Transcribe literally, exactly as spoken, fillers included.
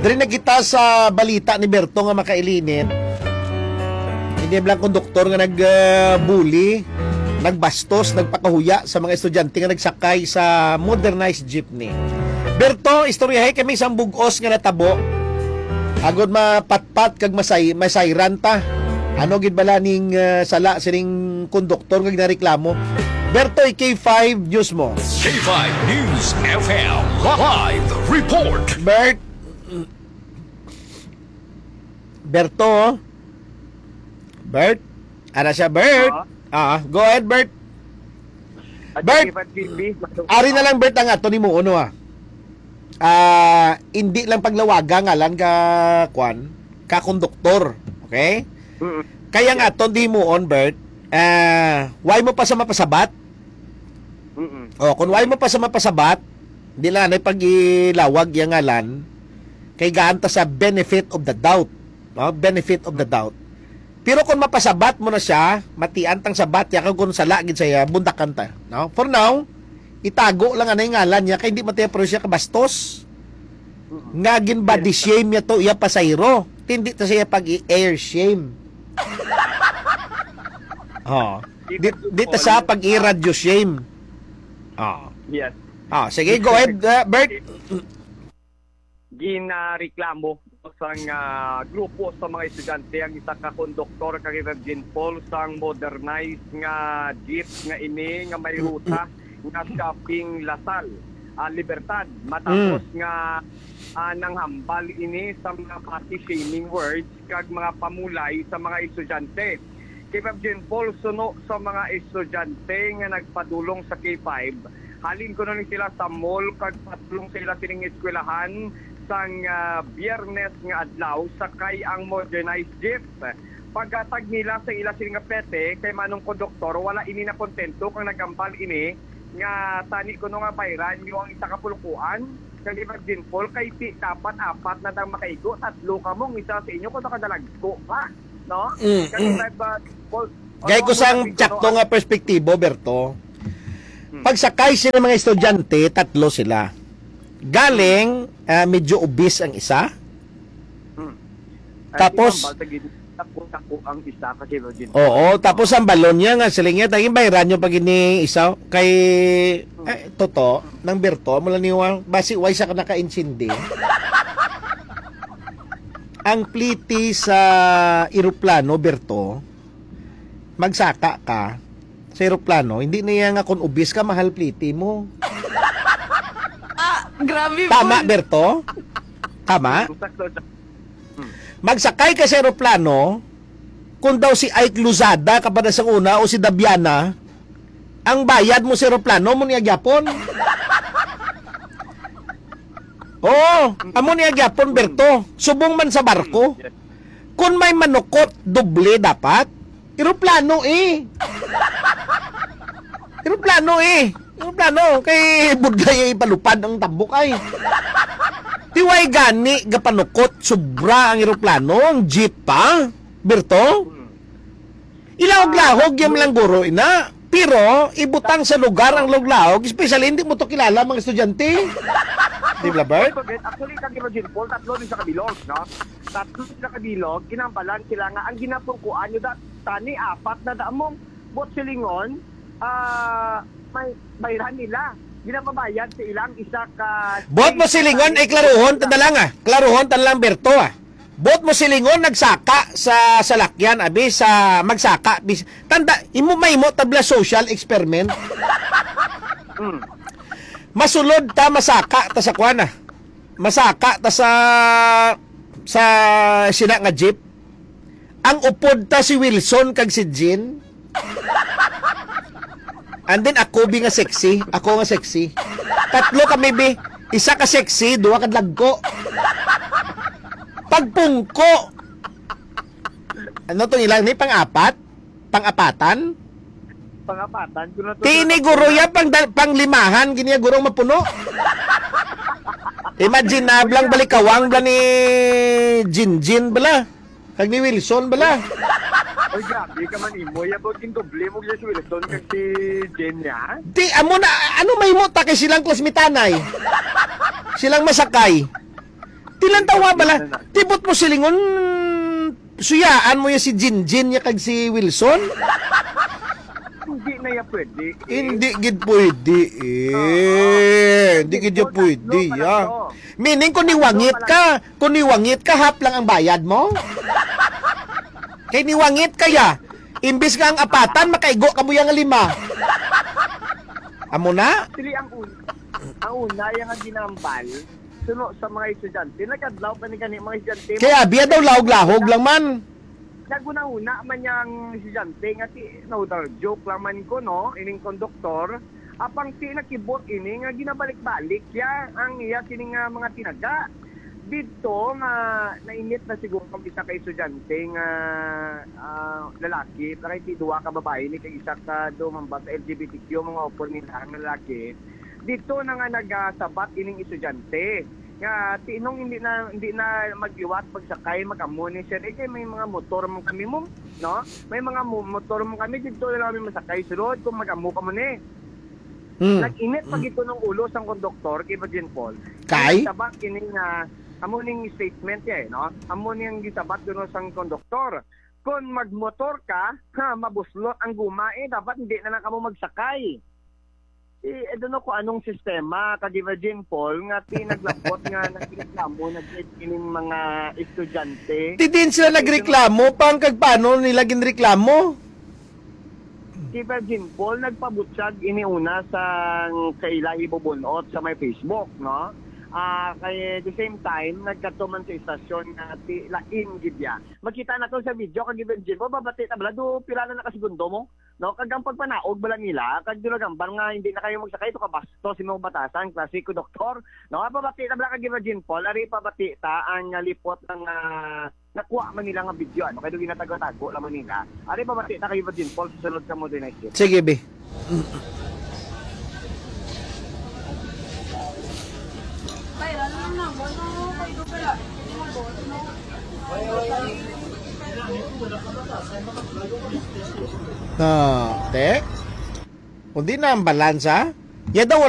Diri na kita sa balita ni Berto nga makailinit. Hindi lang konduktor nga nag, ah, bully, nagbastos, nagpakahuya sa mga estudyante nga nagsakay sa modernized jeepney. Berto, istoryahay kami sang bug-os nga natabo. Agod mapatpat kag masay-, masayran ta. Ano gid bala ning, ah, sala sining konduktor nga ginareklamo? Berto, K five News mo. K five News F M live report. Bert, Berto? Bert? Ara siya, Bert? Oo. Ah, go ahead, Bert. At Bert, saka G B, ari na lang, Bert, ang ato nimo, ano, ah. Ah, hindi lang paglawaga ngalan ka, kwan, ka konduktor, okay? Mm-mm. Kaya nga Yeah. aton dimuon, Bert, ah, why mo pa sa mapasabat? Mm-mm. Oh, kung why mo pa sa mapasabat, di lang na pag-ilawag yang ngalan, kay gaan ta sa benefit of the doubt. No? Benefit of the doubt. Pero kung mapasabat mo na siya, matian tang sabat, ya kung sala gid siya, bundakan ta. No? For now, itago lang anay ngalan niya, kay hindi man tayo pero siya kabastos. Mm-mm. Nga gin-body Yes. shame niya to, iya pasayro. Hindi ta siya pag-i-air shame. Oh. Di, di ta siya pag-i-radio shame. Oh. Yes. Ah, sige, go ahead, uh, Bert. Ginareklamo sang, ah, grupo sa mga estudyante ang isa ka konduktor kag Virgin Falls sang modernized nga jeep nga ini nga may ruta nga Shopping Lasal, ah, Libertad, matapos Mm. nga, ah, nanghambal ini sa mga body shaming words kag mga pamulay sa mga estudyante. K five Jean Paul, suno sa mga estudyante nga nagpadulong sa K five, halin kuno ni sila sa mall kag padulong sa ila sining eskwelahan sang, ah, Biyernes nga adlaw, sakay ang modernized jeep. Paghatag nila sa ila sini nga pete kay manong konduktor, wala ini nakontento kang nagambal ini nga tani kuno nga bayran nyo ang isa ka pulkuan kag K five Jean Paul kay ti dapat apat na dang makaigo, tatlo kamo ang isa sa inyo kuno kadalagko pa, no? Mm, Kag mm. K five, ah, Paul, Gay ano ko ang sang sabi ko, tsakto no? nga perspektibo, Berto. Hmm. Pagsakay sila mga estudyante, tatlo sila. Galing, ah, medyo obese ang isa. Hmm. Tapos, Ay, di ba, basta gid-, tako-tako ang isa kasi virgin. Oo, tapos ang balon niya nga, siling niya, "Tagi, bayran nyo pag ini isa." Kay, Hmm. eh, toto, nang Berto, mula ni Juan, basi, way sa ka naka-insindi. Ang pliti sa eroplano, Berto, magsaka ka sa eroplano, hindi na yan nga kung obese ka, mahal pliti mo. Ah, grabe, Tama, boy. Berto? Tama? Sakto, sakto. Hmm. Magsakay ka sa eroplano, kung daw si Ike Lozada ka pa na sa una o si Dabiana, ang bayad mo sa eroplano mo niya gyapon. Oo, amo niya gyapon, Berto. Subong man sa barko. Hmm, yes. Kung may manukot, doble dapat. Eroplano eh. Eroplano eh. Eroplano, kay budlay ay palupad ang tabok ay. Tiway gani gapanukot, sobra ang eroplano, ang jeep pa. Berto? Hmm. Ilahog-lahog yung lang guro, ina. Pero, ibutang sa lugar ang log-lahog, especially hindi mo to kilala, mga estudyante. Di ba, Bert? Actually, kag Virgin Paul, tatlo ni sa kabilog, no? Tatlo ni sa kabilog, kinambalan sila nga ang ginapungkuan nyo dat-, tani apat na damong bot silingon, ah, may bayran nila. Ginapabayad sa ilang isa ka Bot mo silingon, ay klaruhon, tanda lang ah. Klaruhon, tanda lang, Berto ah. Bot mo silingon, nagsaka sa salakyan, abi, sa magsaka, bis-, tanda, imo, may imo, tabla social experiment. Mm. Masulod ta, masaka ta sa kwan, ah. Masaka ta sa, sa sina nga jeep. Ang upod ta si Wilson kag si Jean. And then ako, bi, nga sexy. Ako nga sexy. Tatlo kami, bi. Isa ka sexy, duha ka dagko. Pagpungko. Ano tong ilang ni? Pang-apat? Pang-apatan? Pang-apatan? Kung nato Ti ini, guro, ya, pang dal-, pang-limahan, gini ya, guro, mapuno. Imagine na, blang balikawang, bla ni Jinjin, bla. Kag ni Wilson, bala. Oy, grabe ka man, imo. Ya, ba, gindoble mo si Wilson kag si Jen, ya? Di, amo na, ano may mo ta kay silang klasmitanay? Silang masakay. Bilang tawa bala, tibot mo silingon, suyaan mo ya si Jinjin ya kag si Wilson? Hindi na ya pwede, eh. Hindi gid pwede, eh. Oo. Hindi gid ya Tatlo pwede, na ya. to. Meaning, kung niwangit ka, kung niwangit ka, half lang ang bayad mo? Kay niwangit ka ya. Imbis nga ang apatan, makaigo ka mo ya nga lima. Amo na? Actually, ang un-, ang una, yung nga ginambal, suno sa mga estudyante, nagkadlaw pa ni kani mga estudyante. Kaya biya daw lahog-lahog lang man. Nagunahuna man yang estudyante nga ti, no, dar-, joke lang man ko, no, ining konduktor. Apang ti nakibot ini nga ginabalik-balik ya ang iya sini nga mga tinaga. Didto nga nainit na siguro ang isa ka estudyante nga, ah, lalaki, pero ti duha ka babae ni kag isa ka dumamba sa L G B T Q, mga opor nila nga lalaki. Didto na nga nagasabat ining estudyante nga tinong hindi na, hindi na magliwat pagsakay, mag-amo ni siya. Eh, kay may mga motor man kami mo, no? May mga mo-, motor man kami, didto na lang kami masakay sulod kung mag-amo ka mo ni. Hmm. Nag-init pa Hmm. gito ng ulo sang konduktor kay Virgin Paul. Kay? Ang sabat ini nga, amo ning statement niya eh, no? Amo ning gisabat kuno sang konduktor. Kung magmotor ka, ha, mabuslot ang guma eh, dapat hindi na lang kamo magsakay. Eh, I don't know kung anong sistema kag Virgin Paul nga ti naglabot nga nagreklamo na gid ining mga estudyante. Di din sila nagreklamo, pang kag paano nila ginreklamo? Si Virgin Paul nagpabutyag ini una sa kaila hibubunot sa may Facebook, no? Ah, kay the same time, nagkadto man sa istasyon nga ti lain gid ya. Makita nato sa video kag Virgin Paul, babati na bala, do pila na nakasegundo mo? No, kag ang pagpanaog bala nila, kag dulagambal nga hindi na kayo magsakay, ito kabastos imong batasan, klase ko doktor. No, pabati na bala kag Virgin Paul, ari pabati ta ang, ah, lipot nga, ah, nakuha man nila nga video, ano, kay do ginatago-tago lamang nila. Ari pabati ta kay Virgin Paul sa sulod sa Modernized. Sige, be. Ah, te? Kung di na ang balansa, ya daw